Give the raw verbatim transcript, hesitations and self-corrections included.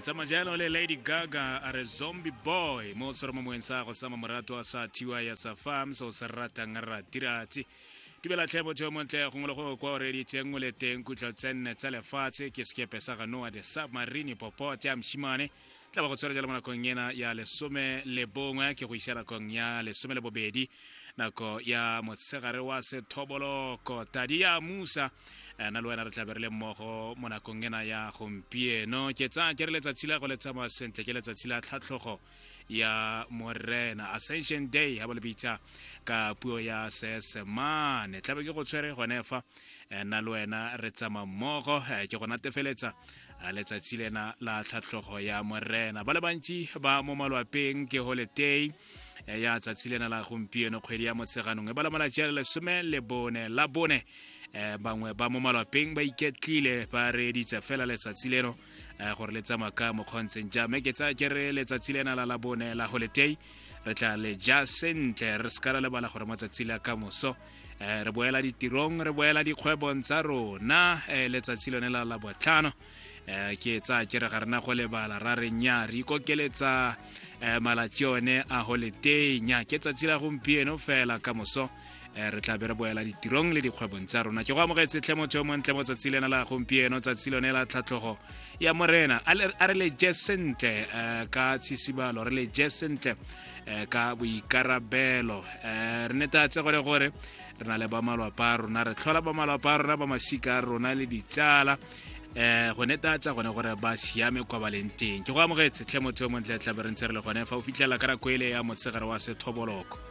Tsamajalo le Lady Gaga a re Zombie Boy mo seromomong sa go sama morato wa sa thiwa ya sa farm so se ratang ratiratsi. Dumela tlhe motho yo montle gongwe le gongwe kwa o reeditseng o le teng. Kutlo tsenne tsa lefatshe ke sekepe sa ga Noah the submarine popote ya moshimane tla ba go tshwara jalo mo nakong ena ya lesome le bongwe ke go isa nakong ya lesome le bobedi, nako ya motshegare wa sethoboloko. Tadi ya musa na le wena re tla be re le mmogo mo nakong ena ya gompieno. Ke tsaya ke re letsatsi la go le tsamaya sentle, ke letsatsi la tlhatlhogo ya Morena, Ascension Day ha ba le bitsa ka puo ya Seesemane. Tlabe ke go tshwere gone fa nna le wena re tsamaya mmogo, ke go natefeletsa letsatsi lena la tlhatlhogo ya Morena. Ba le bantsi ba mo malwapeng ke holiday ya tsatsi lena la gompieno, kgwedi ya Motsheganong e bala malatsi a le lesome le bone la bone. Bangwe ba mo malwapeng ba iketlile ba reeditse fela letsatsi leno gore le tsamaya ka mokgontseng jang. Mme ke tsaya ke re letsatsi lena la la bone la holiday re tla le ja sentle, re se ka ra lebala gore matsatsi la ka moso re boela ditirong, re boela dikgwebong tsa rona. Letsatsi lone la la botlhano ke tsaya ke re ga rena go lebala ra re nya re ikokeletsa malatsi one a holiday. Nya ke tsatsi la gompieno fela, ka moso re tla be re boela ditirong le dikgwebong tsa rona. Ke go amogetse tlhe motho yo montle mo tsatsi lena la gompieno, tsatsi lone la tlhatlhogo ya Morena. A re le je sentle ka tshisibalo, re le je sentle ka boikarabelo, re netatse gore gore re na le ba malwapa a rona, re tlhola ba malwapa a rona, ba masika a rona le ditsala, eh go netatsa gone gore ba siame kwa ba leng teng. Ke go amogetse tlhe motho yo montle, tla be re ntse re le gone fa o fitlhela ka nako ele ya motshegare wa sethoboloko.